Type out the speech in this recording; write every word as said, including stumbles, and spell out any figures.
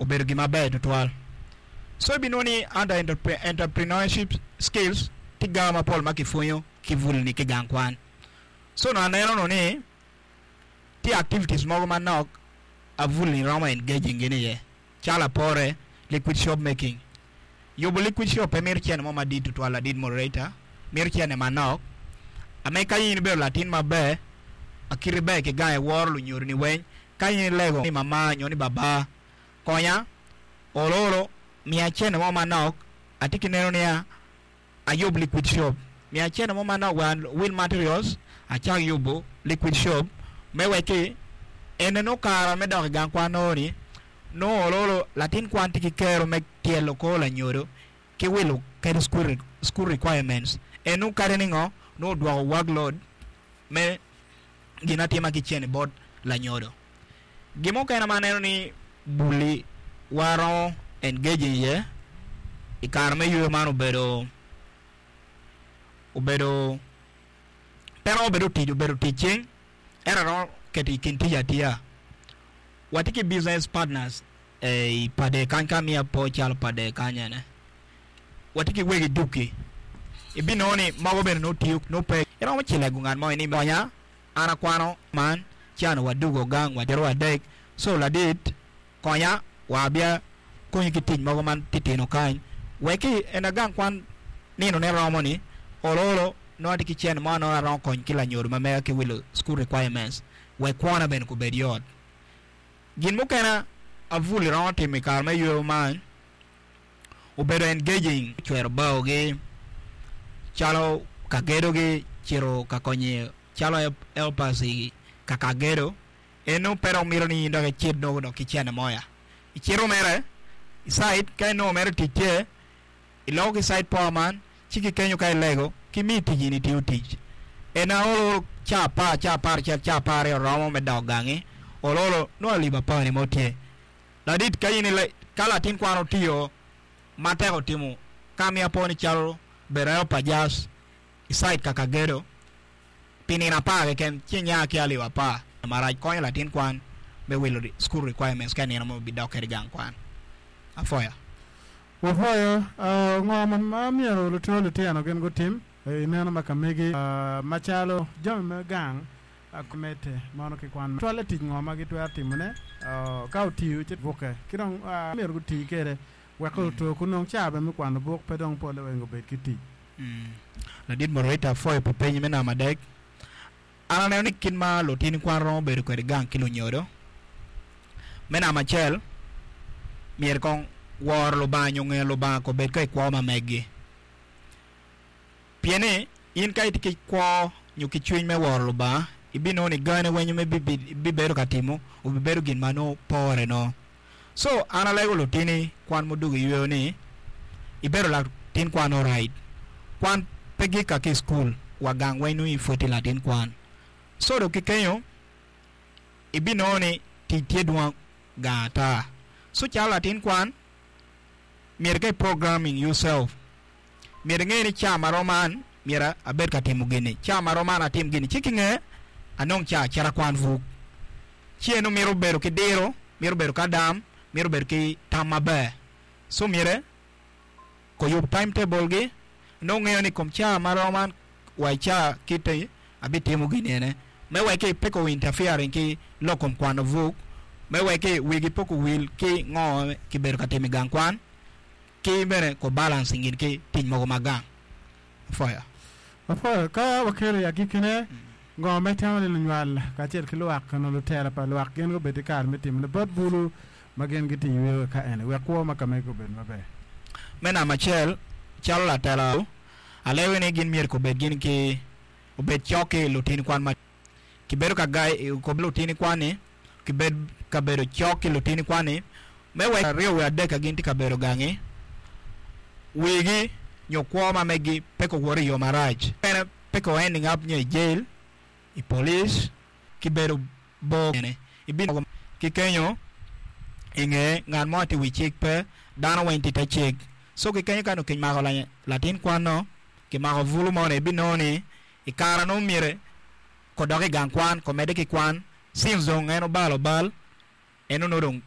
Obedo gin maber tutwal. So ibinongo ni under entrepreneurship skills tye gar mapol ma kipwonyo ki bul-ni ki gang kwan. So onongo aneno no ni tye activities mogo manok abul-ni romo engaging gin iye calo apore liquid soap making. Yubo liquid soap pe mito cene mo madit tutwal ladit moderator, mito cene manok. Ame ka in ibedo latin maber, akiti ber ki gang iworo lunyodoni weng, ka in ilego ni mama nyo ni baba konya olo olo miya cene mo manok atye ki neno niya ayub liquid soap miya cene mo manok wek awil materials acak yubo liquid soap me wek ene nongo kara me dok i gang kwan nongo ni nongo olo olo latin kwan tye ki kero me tyelo kor lanyodo ki wilo kede school requirements eno kadi ningo nongo odwoko workload me gin atima ki cene bot lanyodo. Gin mukene ma aneno ni buli waromo engaging iye i kare me yweyo man obedo obedo pe romo bedo tic obedo tic cing ento aromo keto i kin tic atiya. Watye ki business partners i pade kany ka miya po calo pade kany ene watye ki wegi duki ibinongo ni mogo bene nongo tiyo nongo pe iromo cilego ngat mo ni konya an akwano man ci an wadugo gang wacito adek so ladit konya wa abia konyi ki tic mogo man titino kany wek en agang kwan nino ne romo ni olo olo nongo atye ki cene mo nongo aromo konyo ki lanyodo ma mega ki wilo school requirements wek kwona bene kubed yot. Gin mukene abul iromo timo i kare me yweyo man obedo engaging cwero baogi calo ka gedogi cito ka konyo calo helpers ka ka gedo eno pe dong mito ni in dok icit nongo dok ki cene moya icito mere i site ka inongo mere tic tye iloko ki site foreman ci ki kenyo ka ilego ki miyi tic in itiyo tic ena olo ca apar ca apar acel ca apar aryo romo me dok gangi olo olo nongo alip apar ni mo tye ladit ka in ka latin kwan otiyo matek otimo ka miya po ni calo bedo helper just i site kaka gedo pi nino apar keken ci inya ki alip apar marac konyo latin kwan me wilo school requirements ka nino mo bidok kede gang kwan afoya. Wafoyo ngo ma myero lutino lutino gin gutim i neno ma ka megi macalo jami me gang mete mono ki kwan twale tic ngo ma gitwero timone ka otiyo ci bukke ki dong myero guti kede wek oto kunong ca bene me kwano buk pe dong pole weng obed ki tic. Ladit moderator afoyo pi peny me namba adek an aneno ni kit ma lutini kwan romo bedo kwede gang ki lunyodo me namba acel myero kong woro Lubanga nyo ngeyo Lubanga ko bed ka i kwo ma megi pien ni in ka itye ki kwo nyo ki cwiny me woro Lubanga ibinongo ni gane weng ma ibibedo ka timo obibedo gin ma nongo pore no so an alego lutini kwan mudugo iyweyo ni ibedo latin kwan alright kwan pe gik ki i cukul wa gang weng nongo in pud itye latin kwan so dong ki kenyo ibinongo ni tic tye dwong gang ata so calo latin kwan myero ka i programming yourself myero inge ni ca marom man myero abed ka timo gini ca marom man atim gini ci kinge anong ca acit akwan buk ci eno mito bedo ki diro mito bedo ki adam mito bedo ki tam maber so myero koyub timetable gi nongo ngeyo ni kom ca marom man wa i ca kiti abitimo gini ene me wek pe ko interfering ki lok kom kwano buk me wek wigi pe owil ki ngo kibedo ka timo i gang kwan ki bene ko balancing gin ki tic mogo ma gang afoya. Afoyo ka wakelo i agikkine ngo ma itemo ni lunywal kacel ki lwak nyo lutela pa lwak gin gubed ki kare me timone bot bulu ma gin gitye i yweyo ka eni wek kwo ma ka megi obed maber. Me namba acel calo latela alego ni gin myero kobed gin ki obed cok ki lutini kwan ma kibedo ka gai ko lutini kwan-ni kibed ka bedo cok ki lutini kwan-ni me wek aryo wi adek ka gin tye ka bedo gangi wigi nyo kwo ma megi pe kowot i yo marac bene pe ko ending up nyo i jail i police ki bedo bor bene ibino ki kenyo i nge ngat mo tye i wi cik pe dano weng tye i te cik so ki kenyo ka nongo kimako latin kwan-no kimako bulu mo ni ibinongo ni i kare nongo myero kodok i gang kwan komedde ki kwan since dong en obalo bal en onongo dong